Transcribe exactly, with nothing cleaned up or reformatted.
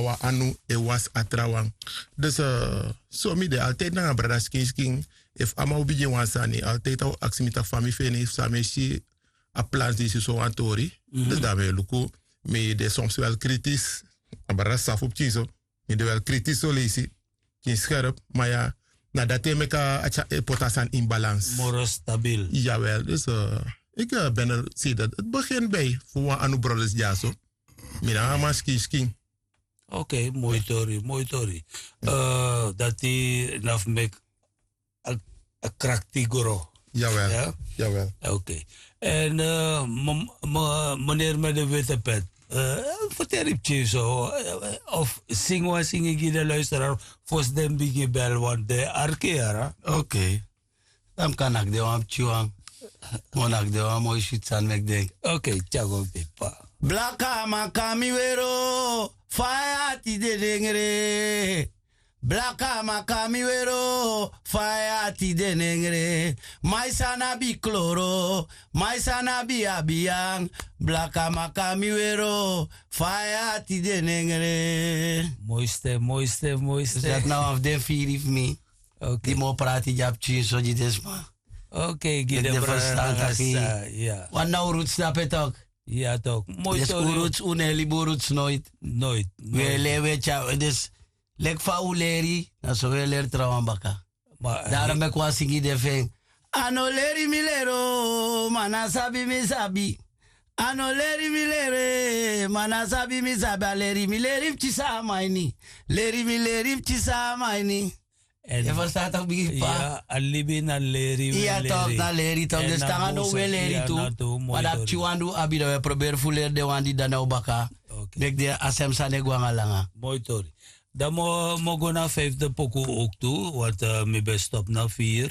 wan anu e wasi a trawan. Dus so mi de altijdi nanga brada skin skin. Efu a man o bigin wan sani altijdi a o aksi mi taki fa mi feni fu san mi e si a plans disi sowan tori. Dus dan mi e luku mi de soms wel kritis. A brada safu pikin so mi de wel kritis so leisi. Pikin skerp ma ya na dati e meki a tyari e poti a sani in balans. Moro stabil. Yawel dus iki ben er si dati begin bij fu wan anu brothers dyaso. Mi nanga a man skin skin. Okei moi tori moi tori. Dati na fu meki a krakti gro. Yawel. Yawel. Okei. Èn meneri mede wete pet, ferteri pikin so of singi wan singi gi den luisteraar fosi den bigin bel wan den arki yara. Okei. Dan mi kan naki den wan pikin wan. Mi o naki den wan moi switi sani meki denki. Okei. Tyari go mi pepa. Blaka a man kon na mi weri o. Fa a e ati de nengre. Blaka a man kon na mi weri o. Fa a e ati de nengre. Mai san na abi kloro. Mai san na abi abi yang. Blaka a man kon na mi weri o. Fa a e ati de nengre. Moi sten moi sten moi sten. Dati na wan fu den firi fu mi. Di mi o prati gi a pikin so gi den sma. Meki den ferstan taki wan na un ruts dape tok. Moi tori. Un no e libi un ruts noit. Un e leri un e tyari dus leki fa un leri na so un e leri trawan baka. Daro meki wan singi de fu en. A no leri mi leri o ma na sabi mi sabi. A no leri mi leri ma na sabi mi sabi a leri mi leri fu kisi a man ini. Leri mi leri fu kisi a man ini. Yu e ferstan tak' bigi pa. A libi na leri wi e leri. Tok na leri tok den stanga no wi e leri tu. Ma dati pikin wan di un abi dan wi e proberi fu leri den wan di dan na un baka. Meki den a sem sani e go nanga langa. Moi tori. Dan mi o go na a fifde poku owk tu. Want mi ben stop na fir.